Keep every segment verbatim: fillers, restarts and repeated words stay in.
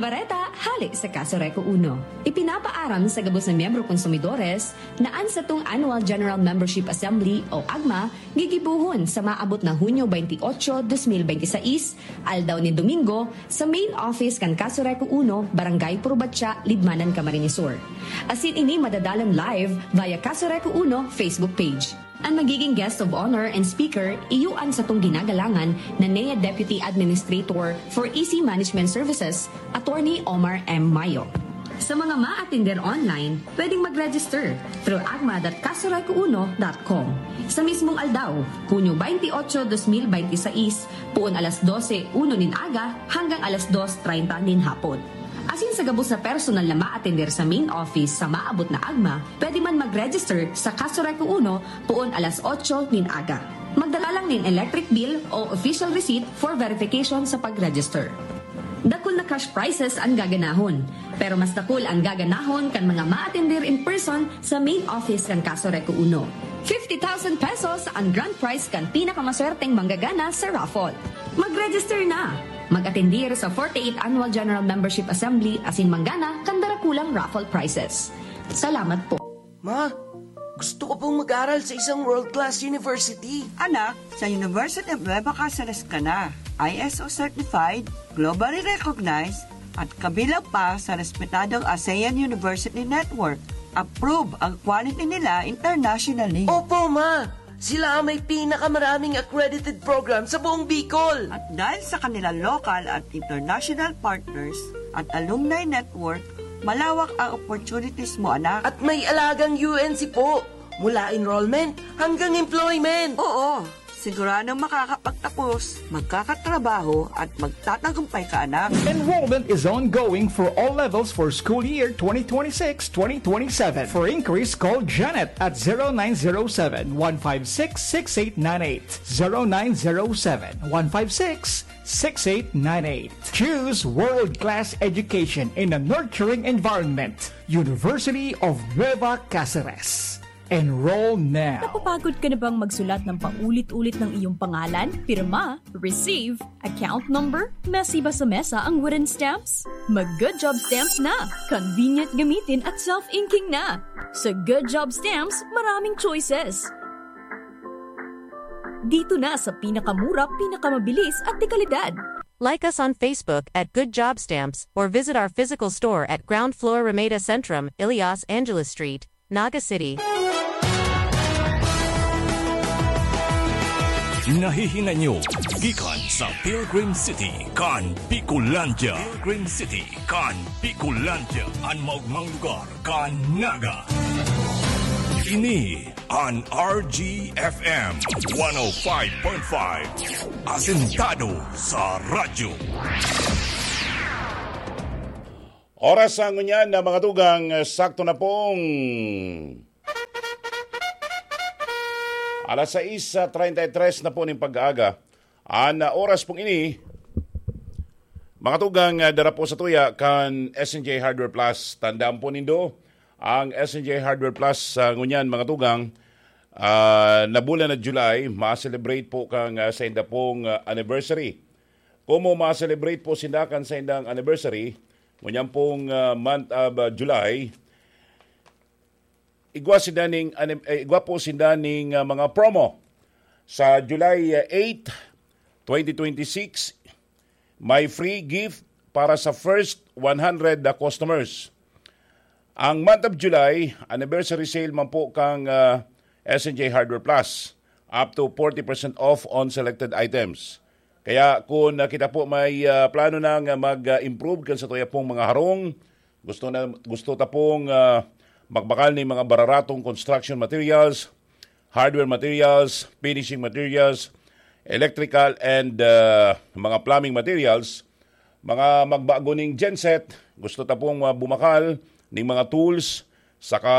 Bareta hale sa Kaso Reco Uno. Ipinapaaram sa gabos na miyembro konsumidores na an satong Annual General Membership Assembly o agma gigibohon sa maabot na Hunyo twenty-eight, twenty twenty-six, aldaw nin Domingo, sa main office kan Kaso Reco Uno, Barangay Purubatya, Libmanan, Camarines Sur. Asin ini madadalan live via Kaso Reco Uno Facebook page. An magiging guest of honor and speaker, iyo an satong ginagalangan na N E A Deputy Administrator for E C Management Services, Attorney Omar M. Mayo. Sa mga maatender online, pwedeng mag-register through agma dot kasoreco uno dot com. Sa mismong aldaw, Hunyo twenty-eight, twenty twenty-six, poon alas dose uno nin aga hanggang alas dos treinta nin hapon. Asin sa gabos na personal na maatender sa main office sa maabot na agma, pwede man mag-register sa Kaso Reco Uno poon alas otso nin aga. Magdala lang nin electric bill o official receipt for verification sa pag-register. Dakul na cash prizes an gaganahon, pero mas dakul an gaganahon kan mga maatender in person sa main office kan Kaso Reco Uno. Fifty thousand pesos an grand prize kan pinakamaswerteng manggagana sa raffle. Mag-register na! Mag-atendir sa forty-eighth Annual General Membership Assembly asin manggana kan darakulang raffle prizes. Salamat po. Ma, gusto ko pong mag-aral sa isang world-class university. Anak, sa University of Nueva Caceres ka na. I S O certified, globally recognized, at kabilang pa sa respetadong ASEAN University Network. Approve ang quality nila internationally. Opo, ma! Sila ang may pinakamaraming accredited program sa buong Bicol. At dahil sa kanilang local at international partners at alumni network, malawak ang opportunities mo, anak. At may alagang U N C po, mula enrollment hanggang employment. Oo, siguradong makakapagtapos, magkakatrabaho at magtatagumpay ka, anak. Enrollment is ongoing for all levels for school year twenty twenty-six, twenty twenty-seven. For inquiries, call Janet at zero nine zero seven, one five six, six eight nine eight. Zero nine zero seven, one five six, six eight nine eight. Choose world-class education in a nurturing environment. University of Nueva Caceres. Enroll now. Napapagod ka na bang magsulat ng paulit-ulit ng iyong pangalan, pirma, receive, account number, mesiba sa mesa ang wooden stamps? Mag Good Job Stamps na! Convenient gamitin at self-inking na! Sa Good Job Stamps, maraming choices. Dito na sa pinakamura, pinakamabilis at dekalidad. Like us on Facebook at Good Job Stamps or visit our physical store at ground floor Ramada Centrum, Ilias Angeles Street, Naga City. Nahihinay nyo gikan sa Pilgrim City kan Bicolandia. Pilgrim City kan Bicolandia, an maogmang lugar kan Naga. Ini an R G F M one oh five point five, asentado sa radyo. Oras sa ngunyan na mga tugang, sakto na pong alas sais treinta y tres na po ning pag-aaga. An, ah, oras pong ini, mga tugang, ah, dara po sa tuya kan S N J Hardware Plus. Tandaan po nindo, ang S N J Hardware Plus, ah, ngunyan, mga tugang, ah, na bulan na July, ma-celebrate po kan, ah, sainda pong, ah, anniversary. Komo ma-celebrate po sinda kan saindang anniversary, ngunyan pong, ah, month of, ah, July, igwa sinda ning anim-, eh, igwa po sinda ning, ah, mga promo. Sa July, ah, eight, twenty twenty-six, may free gift para sa first one hundred na customers. Ang month of July, anniversary sale man po kang, ah, S N J Hardware Plus, up to forty percent off on selected items. Kaya kung, ah, kita po may, ah, plano nang, ah, mag-improve kan satuya pong mga harong, gusto na, gusto ta pong, ah, magbakal ning mga bararatong construction materials, hardware materials, finishing materials, electrical and, ah, mga plumbing materials, mga magbago ning genset, gusto ta pong, ah, bumakal ning mga tools, saka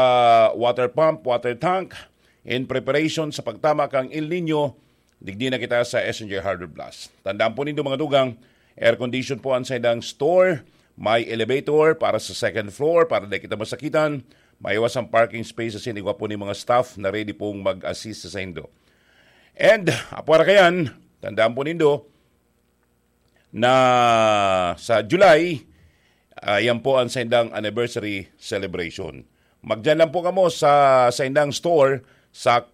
water pump, water tank, in preparation sa pagtama kang El Niño, digdi na kita sa S N J Hardware Plus. Tandaan po nindo, mga tugang, air condition po ang saindang store, may elevator para sa second floor para di kita masakitan, may iwas ang parking space asin igwa po ning mga staff na ready pong mag-assist sa saindo. And, apwara kayan, tandaan po nindo na sa July, Ah, yan po ang saindang anniversary celebration. Magdiyan lang po kamo sa saindang store sa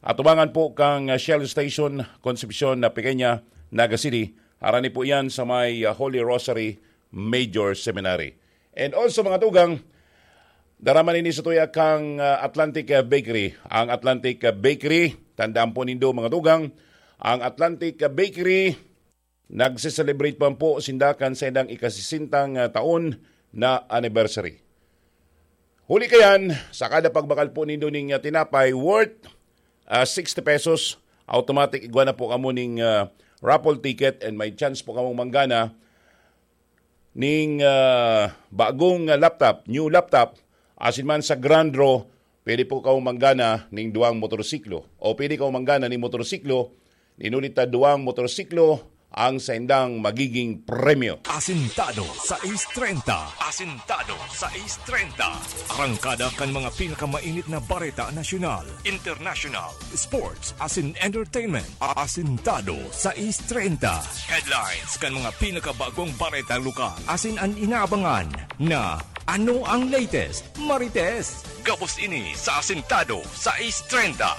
atubangan po kang Shell Station, Concepcion, na Pequeña, Naga City. Harani po yan sa may, ah, Holy Rosary Major Seminary. And also, mga tugang, dara man ini sa tuya kang, ah, Atlantic, ah, Bakery. Ang Atlantic, ah, Bakery, tandaan po nindo, mga tugang, ang Atlantic, ah, Bakery, nagse-celebrate pa po sinda kan saindang ikasisintang, ah, taon na anniversary. Huli kayan, sa kada pagbakal po nindo ning, ah, tinapay worth, ah, sixty pesos, automatic igwa na po kamo ning, ah, raffle ticket and may chance po kamong manggana ning, ah, bagong, ah, laptop, new laptop, asin man sa grand draw, pwede po kamo manggana ning duwang motorsiklo. O pwede kamo manggana ning motorsiklo, nin huli ta duwang motorsiklo ang saindang magiging premyo. Asintado sais treinta. Asintado sais treinta. Arangkada kan mga pinakamainit na bareta nasyonal, international, sports, asin entertainment. Asintado sais treinta. Headlines kan mga pinakabagong bareta lokal. Asin an inaabangan na ano ang latest, Marites? Gabos ini sa Asintado sais treinta.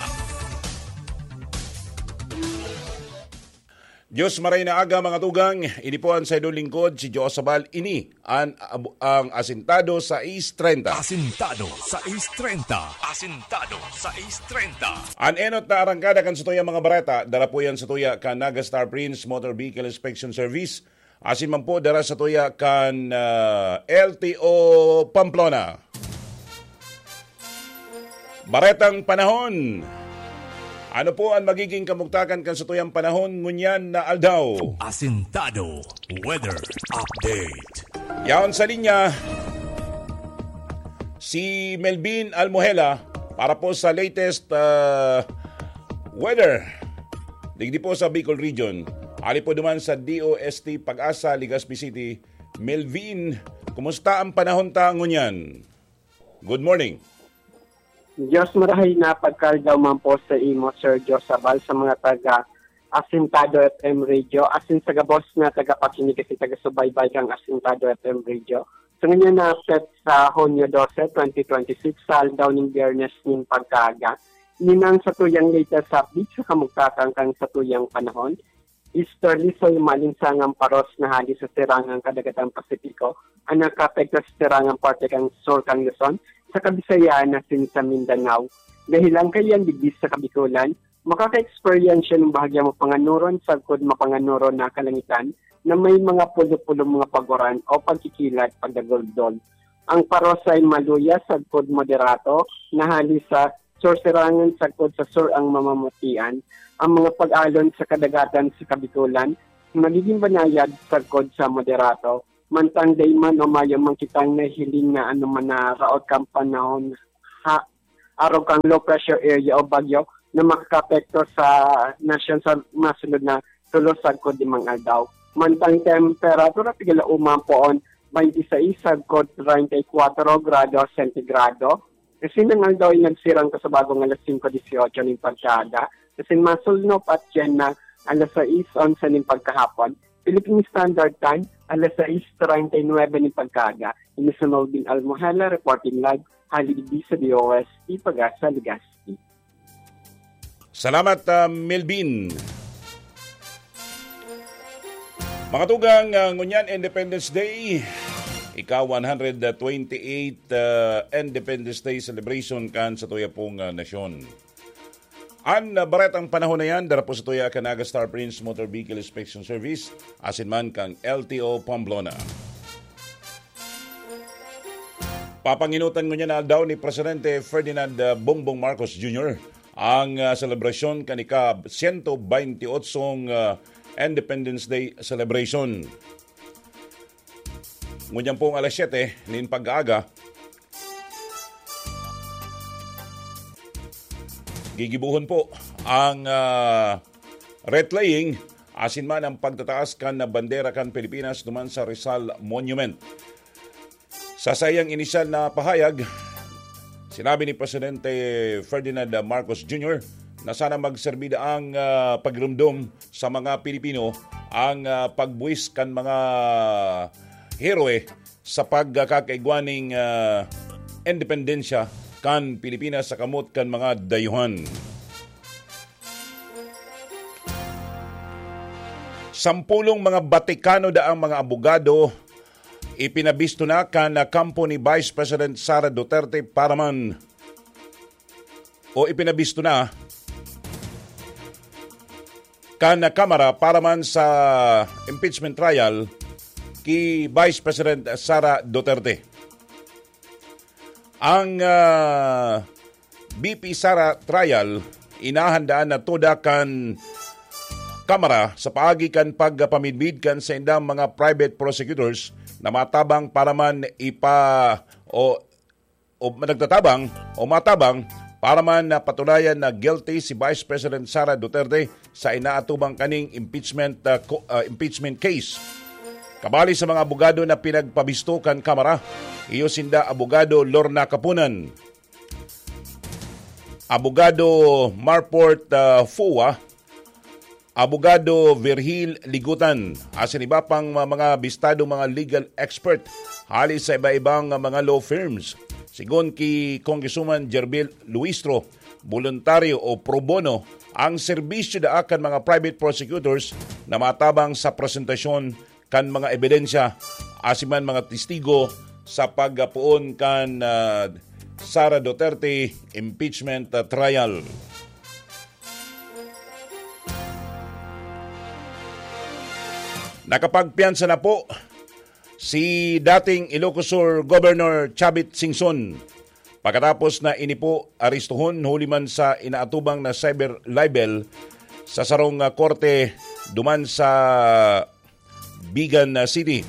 Diyos maray na aga, mga tugang. Ini po ang saindong lingkod, si Joe Sabal. Ini an, ab-, ang Asintado sais treinta. Asintado sais treinta. Asintado sais treinta. An enot na arangkada kan satuyang mga bareta, dara po yan sa tuya kan Naga Star Prince Motor Vehicle Inspection Service. Asin man po dara sa tuya kan, ah, L T O Pamplona. Baretang panahon. Ano po ang magiging kamugtakan kan satuyang panahon ngunyan na aldaw? Asintado Weather Update. Yaon sa linya, si Melvin Almohela para po sa latest, ah, weather digdi po sa Bicol Region. Ali po duman sa D O S T Pag-asa, Legazpi City. Melvin, kumusta ang panahon ta ngunyan? Good morning. Diyos marahay na pagkaldaw man po sa imo, Sir Joe Sabal, sa mga taga Asintado F M Radio, asin sa gabos na tagapakinig asin taga-subaybay kang Asintado F M Radio. Sa ngunyan na petsa, Hunyo dose, twenty twenty-six, sa aldaw ning Biyernes nin pagkaaga, ninang sa tuyang latest update sa kamugtakan kan sa tuyang panahon. Easterly, so yung maalinsangang paros na hali sa sirangang kadagatan Pasipiko, ang nakaapekto sa sirangang parte kan sur kan Luzon, sa Kabisayaan asin sa Mindanao. Dahil ang kaiyan digdi sa Kabikulan, makaka-experience ng bahagya mapanganuron sagkod mapanganuron na kalangitan na may mga pulo-pulo mga paguran o pagkikilat pagdagoldol. Ang paros ay maluya sagkod moderato na hali sa sursirangan sagkod sa sur ang mamamutian. Ang mga pag-alon sa kadagatan sa Kabikulan magiging banayad sagkod sa moderato. Mantang dai man o mayo man kitang nahihiling na anoman na raot kan panahon ha, arog kan low pressure area o bagyo na makakaapekto sa nasyon sa masunod na tulo sagkod limang aldaw. Mantang temperatura, pigala uman poon, twenty-six sagkod treinta y cuatro grado sentigrado. Kasi nang aldaw ay nagsirang ka sa bagong alas singko dieciocho nin pagkaaga. Kasi masulnop at yan na alas sais onse nin pagkahapon. Philippine Standard Time, alas sais treinta y nuebe nin pagkaaga. Ini si Melvin Almohela, reporting live, hali digdi sa D O S T Pag-asa, Legazpi. Salamat, ah, Melvin. Mga tugang, ah, ngunyan Independence Day, ika one hundred twenty-eight, ah, Independence Day celebration kan sa tuya pong, ah, nasyon. An, ah, baretang panahon na yan, dara po sa tuya kan Naga Star Prince Motor Vehicle Inspection Service, asin man kang L T O Pamplona. Papanginutan ngunyan na aldaw ni Presidente Ferdinand, ah, Bongbong Marcos Junior ang, ah, selebrasyon kan ika-sento beinti otsong, ah, Independence Day celebration. Ngunyan pong alas siyete nin pag-aaga, gigibuhon po ang, ah, wreath laying, asin man ang pagtataas kan bandera kan Pilipinas duman sa Rizal Monument. Sa saiyang inisyal na pahayag, sinabi ni Presidente Ferdinand Marcos Junior na sana magserbi ang, ah, pagrumdom sa mga Pilipino ang, ah, pagbuwis kan mga heroe sa pagkakaigwa ning, ah, independensya kan Pilipinas sa kamot kan mga dayuhan. Sampulong mga Batikano daang mga abogado ipinabisto na kan kampo ni Vice President Sara Duterte para man, o ipinabisto na kan Kamara para man sa impeachment trial ki Vice President Sara Duterte. Ang, ah, B P Sara trial inahandaan na toda kan Kamara sa paagi kan pagpamidbid kan saindang mga private prosecutors na matabang para man ipa-, o, o nagtatabang o matabang para man na patunayan na guilty si Vice President Sara Duterte sa inaatubang kaning impeachment, ah, ko-, ah, impeachment case. Kabali sa mga abogado na pinagpabisto kan Kamara, iyo sinda Abogado Lorna Kapunan, Abogado Marport, ah, Fua, Abogado Virgil Ligutan, asin iba pang ma-, mga bistadong mga legal expert hali sa iba-ibang mga law firms. Sigon ki Congresswoman Gerbil Luistro, boluntaryo o pro bono ang serbisyo daa kan mga private prosecutors na matabang sa presentasyon kan mga ebidensya asin man mga testigo sa pagpoon kan, ah, Sara Duterte impeachment, ah, trial. Nakapagpiyansa na po si dating Ilocos Sur Governor Chavit Singson pagkatapos na ini po arestuhon huli man sa inaatubang na cyber libel sa sarong, ah, korte duman sa Bigan, ah, City.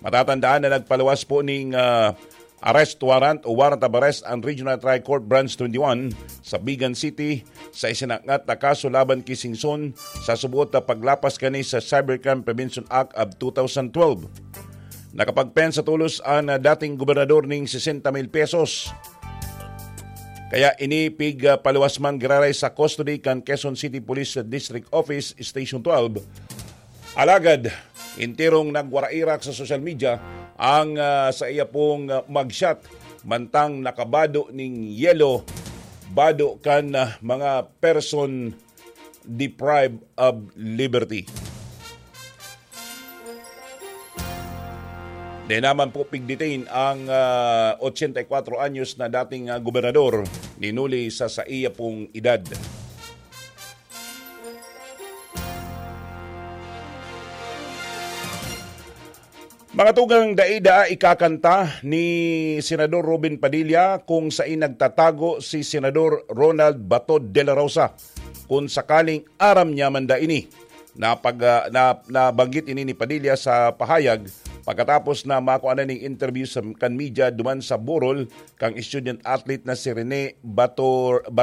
Matatandaan na nagpaluwas po ning, ah, arrest warrant o warrant of arrest ang Regional Trial Court Branch twenty-one sa Bigan City sa isinangat na kaso laban ki Singson sa suboot na paglapas kani sa Cybercrime Prevention Act of two thousand twelve. Nakapagpensa tolos an, ah, dating gobernador ning sesenta mil pesos. Kaya ini pig, ah, paluwas man giraray sa custody kan Quezon City Police District Office Station twelve. Alagad, enterong nagwarairak sa social media ang, ah, sa iya pong, ah, mugshot mantang nakabado ning yelo, bado kan, ah, mga person deprived of liberty. Di naman po pigdetain ang, ah, ochenta y cuatro anyos na dating, ah, gobernador, ninuli sa saiya pong edad. Mga tugang, dai daa ikakanta ni Senador Robin Padilla kung sain nagtatago si Senador Ronald Bato de la Rosa, kung sakaling aram niya man da ini. Napag-, ah, na, nabanggit ini ni Padilla sa pahayag pagkatapos na makua na ning interview sa, kan media duman sa burol kan student athlete na si Rene Bator,